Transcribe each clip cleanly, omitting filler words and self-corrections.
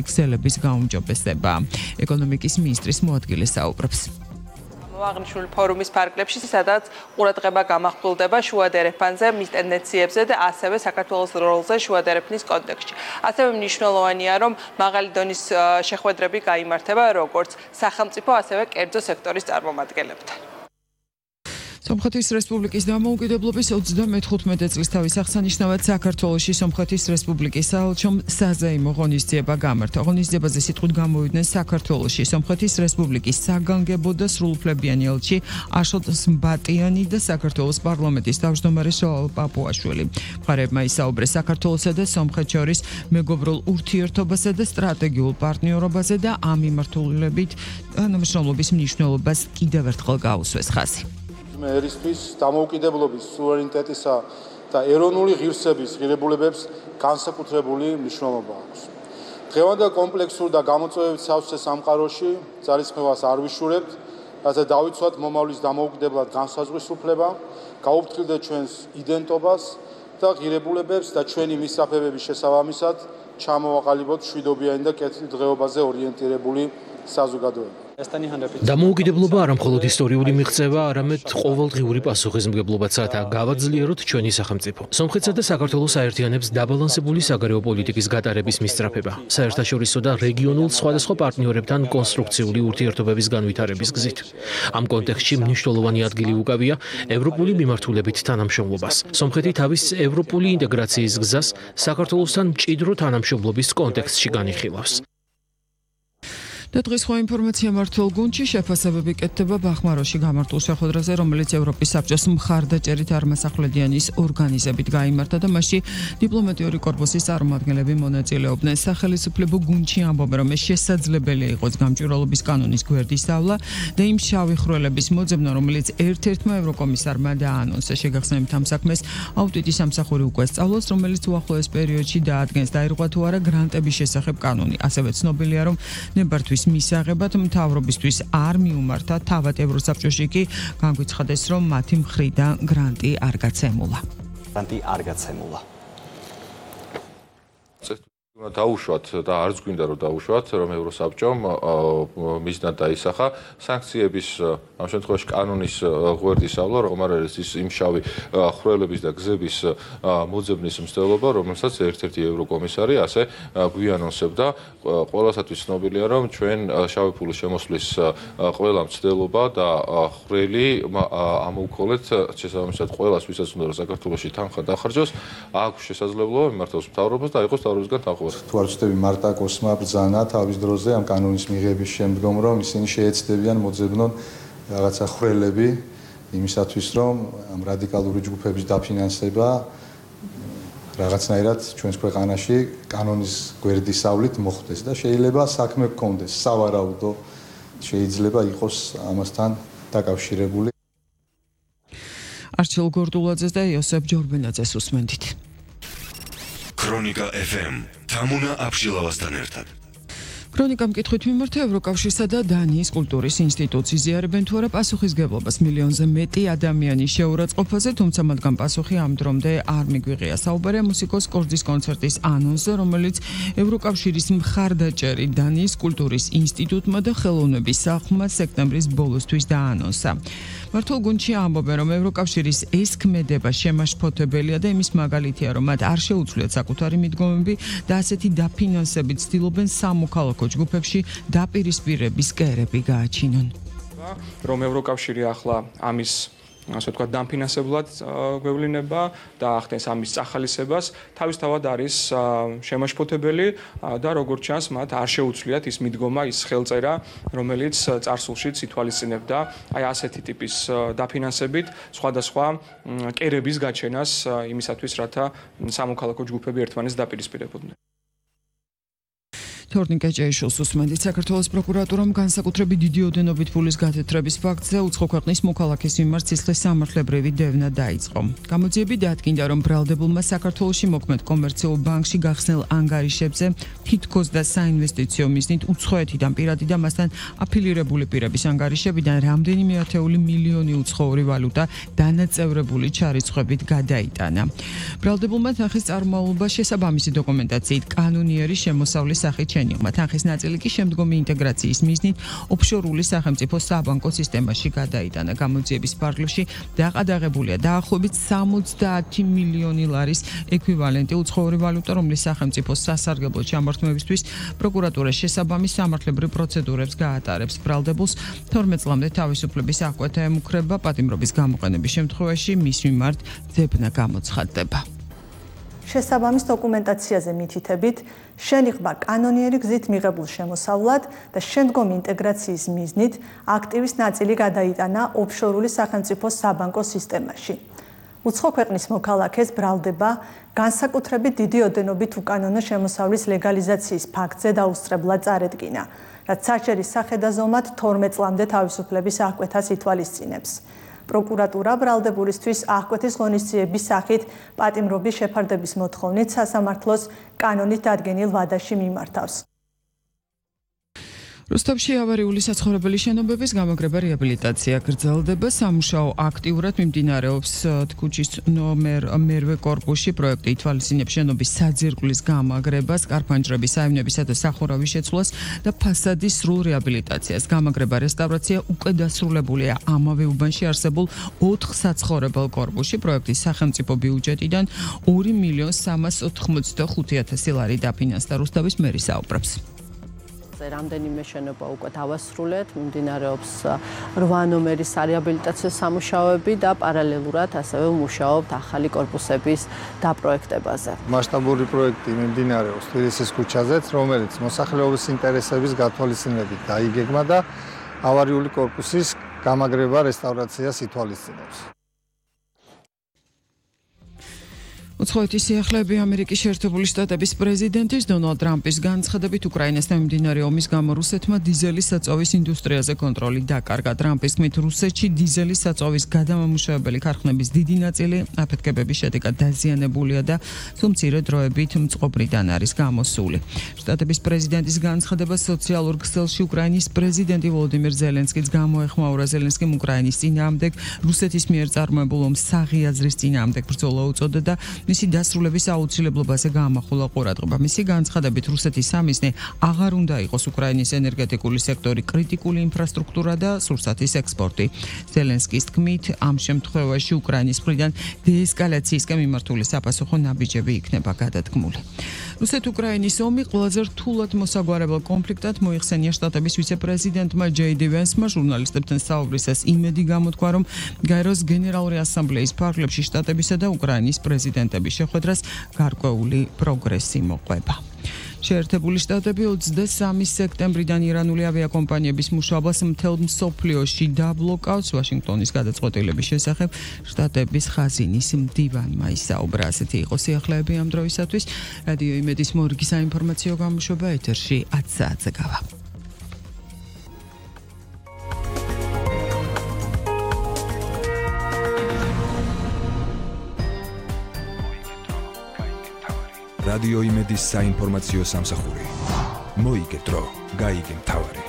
ქსელების გაუმჯობესება. ეკონომიკის მინისტრის მოადგილე საუბრობს. აღნიშნული ფორუმის ფარგლებში, სადაც ყურადღება გამახვილდება შუადერეფანზე, მის ტენდენციებზე და ასევე საქართველოს როლზე შუადერეფნის კონტექსტში. ასევე მნიშვნელოვანია, რომ მაღალი დონის შეხვედრები გაიმართება როგორც სახელმწიფო, ასევე კერძო სექტორის წარმომადგენლებთან. სომხეთის რესპუბლიკის დამოუკიდებლობის 35 წლის თავის აღსანიშნავად საქართველოში სომხეთის რესპუბლიკის საელჩომ საზეიმო ღონისძიება გამართა. ღონისძიებაზე სიტყვით გამოვიდნენ საქართველოში სომხეთის რესპუბლიკის საგანგებო და სრულუფლებიანი ელჩი აშოტ სმბატიანი და საქართველოს პარლამენტის თავმჯდომარე შოალ პაპუაშვილი. მხარეებმა ისაუბრეს საქართველოსა და სომხეთს შორის მეგობრულ ურთიერთობასა და სტრატეგიულ პარტნიორობაზე და ამ მიმართულებით თანამშრომლობის მნიშვნელობას კიდევ ერთხელ გაუსვეს ხაზი. ერისთვის დამოუკიდებლობის, სუვერენიტეტისა და ეროვნული ღირსების ღირებულებებს განსაკუთრებული მნიშვნელობა აქვს. დღევანდელ კომპლექსურ და გამოწვევებით სავსე სამყაროში ძალისხმევას არ ვიშურებთ, რათა დავიცვათ მომავლის დამოუკიდებლად განსაზღვრის უფლება, გაუფრთხილდეთ ჩვენს იდენტობას და ღირებულებებს და ჩვენი მისწრაფებების შესაბამისად ჩამოვაყალიბოთ მშვიდობიანი და კეთილდღეობაზე ორიენტირებული საზოგადოება. დამოუკიდებლობა არა მხოლოდ ისტორიული მიღწევა, არამედ ყოველდღიური პასუხისმგებლობაცაა გავაძლიეროთ ჩვენი სახელმწიფო. სომხეთსა და საქართველოს აერთიანებს დაბალანსებული საგარეო პოლიტიკის გატარების მისწრაფება, საერთაშორისო და რეგიონულ სხვადასხვა პარტნიორებთან კონსტრუქციული ურთიერთობების განვითარების გზით. ამ კონტექსტში მნიშვნელოვანი ადგილი უკავია ევროპული მიმართულებით თანამშრომლობას. სომხეთი თავის ევროპული ინტეგრაციის გზას საქართველოსთან მჭიდრო თანამშრომლობის კონტექსტში განიხილავს. და დღეს სხვა ინფორმაცია მართლ გუნდში შეფასებები კეთდება ბახმაროში გამართულ შეხვედრაზე, რომელიც ევროპის საბჭოს მხარდაჭერით არმასახვლედიანის ორგანიზებით გაიმართა და მასში დიპლომატიური კორპუსის წარმომადგენლები მონაწილეობდნენ. სახელმწიფო გუნდში ამბობენ, რომ შესაძლებელი იყოს გამჭვირვალობის კანონის გვერდისავლა და იმ შავი ხვრელების მოძებნა, რომელიც ერთ-ერთმა ევროკომისარმა დაანონსა. შეგახსენებთ ამ საქმეს აუდიტის სამსახური უკვე სწავლობს, რომელიც უახლოეს პერიოდში დაადგენს დაირღვა თუ არა გრანტების შესახებ კანონი. ასევე ცნობილია, რომ ნებართვის მისაღებად მთავრობისთვის არ მიუმართა, თავად ევროსაბჭოში კი განგვიცხადეს, რომ მათი მხრიდან გრანტი არ გაცემულა. დაუშვათ და არც გვინდა რომ დაუშვათ, რომ ევროსაბჭომ მიზნად დაისახა სანქციების ამ შემთხვევაში კანონის გვერდისავლა, რომ არ არის ის იმ შავი ხვრელების და გზების მოძებნის მცდელობა, რომელსაც ერთ-ერთი ევროკომისარი ასე გვიანონსებდა. ყველასათვის ცნობილია, რომ ჩვენ შავი ფულის შემოსვლის ყველა მცდელობა და ხვრელი ამოვქოლეთ შესაბამისად ყველას, ვისაც უნდა რომ საქართველოში თანხა დახარჯოს, აქვს შესაძლებლობა მიმართოს მთავრობას და იყოს მთავრობისგან თანხმობა. თუ არ ვწდები მარტაკოსმა ბრძანა თავის დროზე ამ კანონის მიღების შემდგომ, რომ ისინი შეეცდებიან მოძებნონ რაღაცა ხვრელები იმისათვის, რომ ამ რადიკალური ჯგუფების დაფინანსება რაღაცნაირად ჩვენს ქვეყანაში კანონის გვერდისავლით მოხდეს და შეიძლება საქმე გქონდეს, სავარაუდო შეიძლება იყოს ამასთან დაკავშირებული. არჩილ გორდულაძეს და იოსებ ჯორბენაძეს უსმენთ. ქრონიკა FM თამუნა აბშილავასთან ერთად. ქრონიკამ კითხვით მიმართა ევროკავშირსა და დანიის კულტურის ინსტიტუტს იზიარებენ თუ არა პასუხისგებლობას მილიონზე მეტი ადამიანის შეურაცხყოფაზე, თუმცა მათგან პასუხი ამ დრომდე არ მიგვიღია. საუბარია მუსიკოს კორძის კონცერტის ანონსზე, რომელიც ევროკავშირის მხარდაჭერით დანიის კულტურის ინსტიტუტმა და ხელოვნების სახლმა სექტემბრის ბოლოსთვის დაანონსა. მართლ გუნდში ამბობენ, რომ ევროკავშირის ეს ქმედება შემაშფოთებელია და იმის მაგალითია, რომ მათ არ შეუძლიათ საკუთარი მიდგომები და ასეთი დაფინანსებით ცდილობენ სამოქალაქო ჯგუფებში დაპირისპირების კერები გააჩინონ. რომ ევროკავშირი ახლა ამის ასე ვთქვათ დამფინანსებლად გვევლინება და ახდენს ამის წახალისებას, თავისთავად არის შემაშფოთებელი და როგორც ჩანს, მათ არ შეუძლიათ ის მიდგომა, ის ხელწერა, რომელიც წარსულშიც ითვალისწინებდა აი ასეთი ტიპის დაფინანსებით სხვადასხვა კერების გაჩენას იმისათვის, რათა სამოქალაქო ჯგუფები ერთმანეთს დაპირისპირებოდნენ. თორნიკე ჭეიშვილს უსმენთ. საქართველოს პროკურატურამ განსაკუთრებით დიდი ოდენობით ფულის გათეთრების ფაქტზე უცხო ქვეყნის მოქალაქის მიმართ სისხლის სამართლებრივი დევნა დაიწყო. გამოძიები დაადგინდა, რომ ბრალდებულმა საქართველოში მოქმედ კომერციულ ბანკში გახსნილ ანგარიშებზე თითქოს და საინვესტიციო მიზნით უცხოეთიდან პირადი და მასთან აფილირებული პირების ანგარიშებიდან რამდენიმე ათეული მილიონი უცხოური ვალუტა დანაწევრებული ჩარიცხვებით გადაიტანა. ბრალდებულმა თანხის წარმომავლობა შესაბამისი დოკუმენტაციით კანონიერი შემოსავლის სახით შენიღმა. თანხის ნაწილი კი შემდგომი ინტეგრაციის მიზნით ოფშორული სახელმწიფო საბანკო სისტემაში გადაიტანა. გამოძიების ფარგლებში დაყადაღებულია დაახლოებით 70 მილიონი ლარის ექვივალენტი უცხოური ვალუტა, რომლის სახელმწიფო სასარგებლო ჩამორთმევისთვის პროკურატურა შესაბამის სამართლებრივ პროცედურებს გაატარებს. ბრალდებულს 12 წლამდე თავისუფლების აღკვეთა ემუქრება, პატიმრობის გამოყენების შემთხვევაში მის მიმართ ძებნა გამოცხადდება. შესაბამის დოკუმენტაციაზე მითითებით, შენიღმა კანონიერი გზით მიღებულ შემოსავლად და შემდგომი ინტეგრაციის მიზნით აქტივის ნაწილი გადაიტანა ოფშორული სახელმწიფო საბანკო სისტემაში. უცხო ქვეყნის მოქალაქეს ბრალდება განსაკუთრებით დიდი ოდენობით უკანონო შემოსავლის ლეგალიზაციის ფაქტზე დაუსწრებლად წარედგინა, რაც საჭირის სახედაზომად 12 წლამდე თავისუფლების აღკვეთას ითვალისწინებს. პროკურატურა ბრალდებულისთვის აღკვეთის ღონისძიების სახით პატიმრობის შეფარდების მოთხოვნით სასამართლოს კანონით დადგენილ ვადაში მიმართავს. რუსთავში ავარიული საცხოვრებელი შენობების გამაგრება რეაბილიტაცია გრძელდება. სამუშაო აქტიურად მიმდინარეობს ქუჩის ნომერ მერვე კორპუსში. პროექტი ითვალისწინებს შენობის საძირკვლის გამაგრებას, კარფანჯრების, საევნებისა და სახურავის შეცვლას და ფასადის სრულ რეაბილიტაციას. გამაგრება რესტავრაცია უკვე დასრულებულია ამავე უბანში არსებულ 4 საცხოვრებელ კორპუსში. პროექტის სახელმწიფო ბიუჯეტიდან 2.385.000 ლარი დაფინანსდა. რუსთავის მერი საუბრობს. რამდენიმე შენობა უკვე დავასრულეთ, მიმდინარეობს 8 ნომერის რეაბილიტაციო სამუშაოები და პარალელურად ასევე მუშაობთ ახალი კორპუსების დაპროექტებაზე. მასშტაბური პროექტი მიმდინარეობს თბილისის ქუჩაზეც, რომელიც მოსახლეობის ინტერესების გათვალისწინებით დაიგეგმა და ავარიული კორპუსის გამაგრება რესტავრაციას ითვალისწინებს. უცხოეთის სიახლეები ამერიკის შეერთებული შტატების პრეზიდენტის დონალდ ტრამპის განცხადებით უკრაინასთან მიმდინარე ომის გამო რუსეთმა დიზელის საწვავის ინდუსტრიაზე კონტროლი დაკარგა. ტრამპის თქმით, რუსეთში დიზელის საწვავის გადამამუშავებელი ქარხნების დიდი ნაწილი აფეთქებების შედეგად დაზიანებულია და თუ მცირე დროებით მწყობრიდან არის გამოსული. შტატების პრეზიდენტის განცხადება სოციალურ ქსელში უკრაინის პრეზიდენტი ვოლოდიმირ ზელენსკიც გამოეხმაურა. ზელენსკიმ უკრაინის წინააღმდეგ რუსეთის მიერ წარმოებულ ომს საღი აზრის წინააღმდეგ ბრძოლა უწოდა და მისი დასრულების აუცილებლობაზე გაამახვილა ყურადღება. მისი განცხადებით, რუსეთის სამიზნე აღარ უნდა იყოს უკრაინის ენერგეტიკული სექტორი, კრიტიკული ინფრასტრუქტურა და სურსათის ექსპორტი. ზელენსკის თქმით, ამ შემთხვევაში უკრაინის მხრიდან დეესკალაციისკენ მიმართული საფასუხო ნაბიჯები იქნება გადადგმული. რუსეთ-უკრაინის ომი ყველაზე რთულად მოსაგვარებელ კონფლიქტად მოიხსენია შტატების ვიცე-პრეზიდენტმა ჯეი-დი ვენსმა ჟურნალისტებთან საუბრისას იმედი გამოთქვა, რომ გაეროს გენერალური ასამბლეის ფარგლებში შტატებისა და უკრაინის პრეზიდენტების შეხვედრას გარკვეული პროგრესი მოყვება. შეერთებული შტატები 23 სექტემბრიდან ირანული ავიაკომპანიების მუშაობას მთელ მსოფლიოში დაბლოკავს. ვაშინგტონის გადაწყვეტილების შესახებ შტატების ხაზინის მდივანმა ისაუბრა. ასეთი იყო სიახლეები ამ დროისათვის. რადიო იმედის მორგი საინფორმაციო გამოშვება ეთერში 10 საათზე გავა. რადიო იმედის საინფორმაციო სამსახური. მოიგე დრო, გაიგე მთავარი.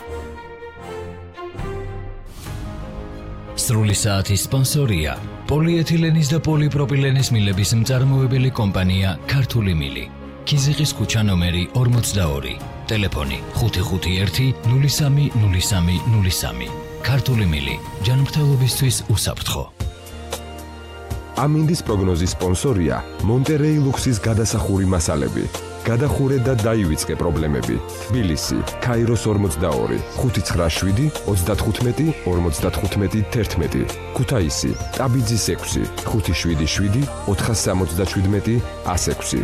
სრული საათის სპონსორია პოლიეთილენის და პოლიპროპილენის მილების მწარმოებელი კომპანია ქართული მილი. ქიზიყის ქუჩა ნომერი 42. ტელეფონი 551 03 03 03. ქართული მილი. ჯანმრთელობისთვის უსაფრთხო. ამინდის პროგნოზის სპონსორია მონტერეი ლუქსის გადასახური მასალები. გადახურე და დაივიწყე პრობლემები. თბილისი, ქაიროს 42, 597, 35, 55, 11. ქუთაისი, ტაბიძის 6, 577, 477, 106.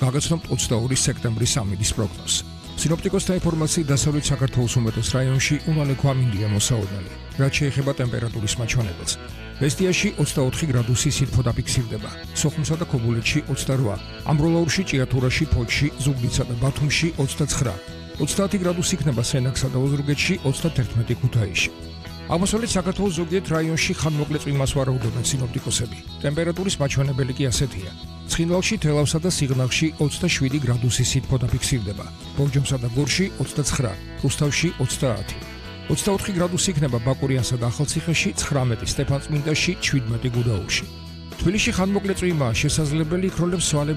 გაგაცნობთ 22 სექტემბრის ამინდის პროგნოზს. სინოპტიკოსთა ინფორმაციით დასავლეთ საქართველოს უმეტეს რაიონში უმალე ქვამინდია მოსაოდნელი, რაც შეეხება ტემპერატურის მაჩვენებელს. ბესტიაში 24 გრადუსი სითბო დაფიქსირდება, სოხუმსა და ქობულეთში 28, ამბროლაურში, ჭიათურაში, ფოთში, ზუგდიდსა და ბათუმში 29, 30 გრადუსი იქნება სენაკსა და ოზურგეთში, 31 ქუთაისში. აღმოსავლეთ საქართველოს ზოგიერთ რაიონში ხანმოკლე წვიმას ვარაუდობენ სინოპტიკოსები. ტემპერატურის მაჩვენებელი კი ასეთია. ცხინვალში, თელავსა და სიღნაღში 27 გრადუსი სითბო დაფიქსირდება, ბორჯომსა და გორში 29, რუსთავში 30. 24 გრადუსი იქნება ბაკურიანსა და ახალციხეში, 19 სტეფანწმინდაში, 17 გუდაურში. თბილისში ხანმოკლე წვიმაა შესაძლებელი, იქროლებს სვალება